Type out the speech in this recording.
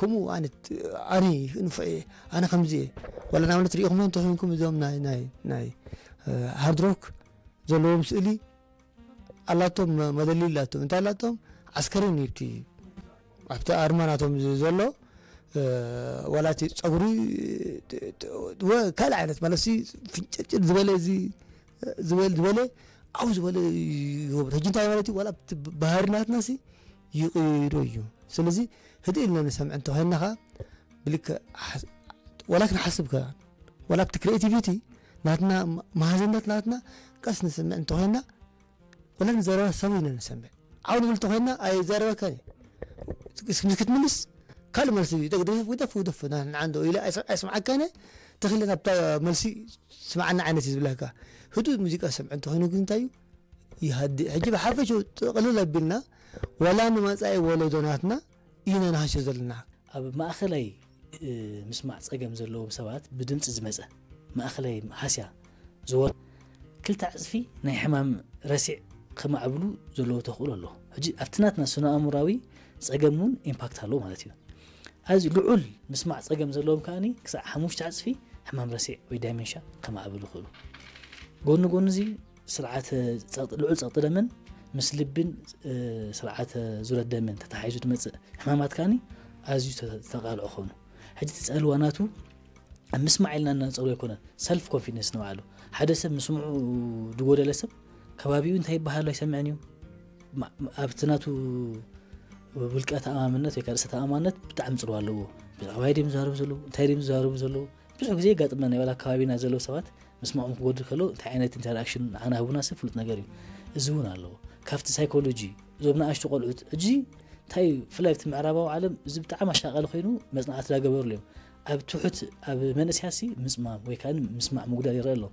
ከምኡ ኣነ ኣነ ንፉዕ እየ ኣነ ከምዚ እየ ዋላ ንኣብነት ሪኢኹም እንተኮይንኩም እዞም ናይ ናይ ናይ ሃርድ ሮክ ዘለዎም ስእሊ ኣላቶም መደሊ ኣላቶም እንታይ ኣላቶም ዓስከሪ ኒብቲ ኣብቲ ኣርማ ናቶም ዘሎ ዋላ እቲ ፀጉሪ ካልእ ዓይነት ማለት ፍንጭርጭር ዝበለ ዝበለ ዝበለ ዓው ዝበለ ይገብሩ ሕጂ እንታይ ማለት ዋላ ባህሪ ናትና ይቕይሮ እዩ ስለዚ ህድእ ኢልና ንሰምዕ እንተኮይንና ከዓ ብልክዕ ወላ ክንሓስብ ከ ወላ ኣብቲ ክሬቲቪቲ ናትና መሃዝነት ናትና ቀስ ንስምዕ እንተኮይንና ወላ ንዘረባ ሰብ ኢና ንሰምዕ ዓው ንብል እንተኮይንና ኣይዛረበካን እዩ ክትምልስ ካልእ መልሲ እዩ ደፍ ደፍ ደፍ ንዓንዶ ኢለ ኣይስምዓካን ተክለ ናብታ መልሲ ስምዓና ዓይነት እዩ ዝብለካ ህዱእ ሙዚቃ ሰምዕ እንተኮይኑ ግን እንታይ እዩ ይሃድእ ሕጂ ብሓፈሽኡ ጥቕልል ኣቢልና ወላ ንመጻኢ ወለዶ ናትና ኢና ንሃስዮ ዘለና ኣብ ማእኸላይ ምስማዕ ፀገም ዘለዎም ሰባት ብድምፂ ዝመፀ ማእኸላይ ሃስያ ዝወ ክልተ ዕፅፊ ናይ ሕማም ረሲዕ ከማዕብሉ ዘለዎ ተኽእሎ ኣሎ ሕጂ ኣብቲ ናትና ስነ ኣእምራዊ ፀገም እውን ኢምፓክት ኣለዎ ማለት እዩ ኣዚ ልዑል ምስማዕ ፀገም ዘለዎም ከኣ ክሳዕ ሓሙሽተ ዕፅፊ ሕማም ረሲዕ ወይ ዳይመንሻ ከማዕብሉ ይኽእሉ ጎኒ ጎኒ እዚ ስርዓተ ልዑል ፀቕጢ ደምን ምስ ልብን ስርዓተ ዙረት ደምን ተተሓሒዙ ዝመፅእ ሕማማት ከኣ ኣዝዩ ዝተቃልዑ ኾኑ ሕጂ እቲ ፀልዋ ናቱ ኣብ ምስማዕ ኢልና እናንፀሩ ኣይኮነን ሰልፍ ኮንፊደንስ ንባዕሉ ሓደ ሰብ ምስምዑ ዝጎደለ ሰብ ከባቢኡ እንታይ ይበሃሉ ኣይሰምዕን እዩ ኣብቲ ናቱ ውልቀ ተኣማምነት ወይ ርእሰ ተኣማምነት ብጣዕሚ ፅልዋ ኣለዎ ብዛዕባ ድም ዝዛረቡ ዘለዉ እንታይ ድም ዝዛረቡ ዘለዉ ብዙሕ ግዜ የጋጥመና ይበላ ከባቢና ዘለዉ ሰባት ምስማዖም ክጎድል ከሎ እንታይ ዓይነት ኢንተራክሽን ንዓና ህቡና ሰብ ፍሉጥ ነገር እዩ እዚ እውን ኣለዎ ካብቲ ሳይኮሎጂ እዞም ንኣሽቱ ቆልዑት ሕጂ እንታይ እዩ ብፍላይ ኣብቲ ምዕራባዊ ዓለም እዚ ብጣዕሚ ኣሻቃሊ ኮይኑ መፅናዕቲ ዳገበርሉ እዮም ኣብ ትሑት ኣብ መንእስያሲ ምፅማም ወይ ከዓ ምስማዕ ምጉዳል ይረአ ኣሎ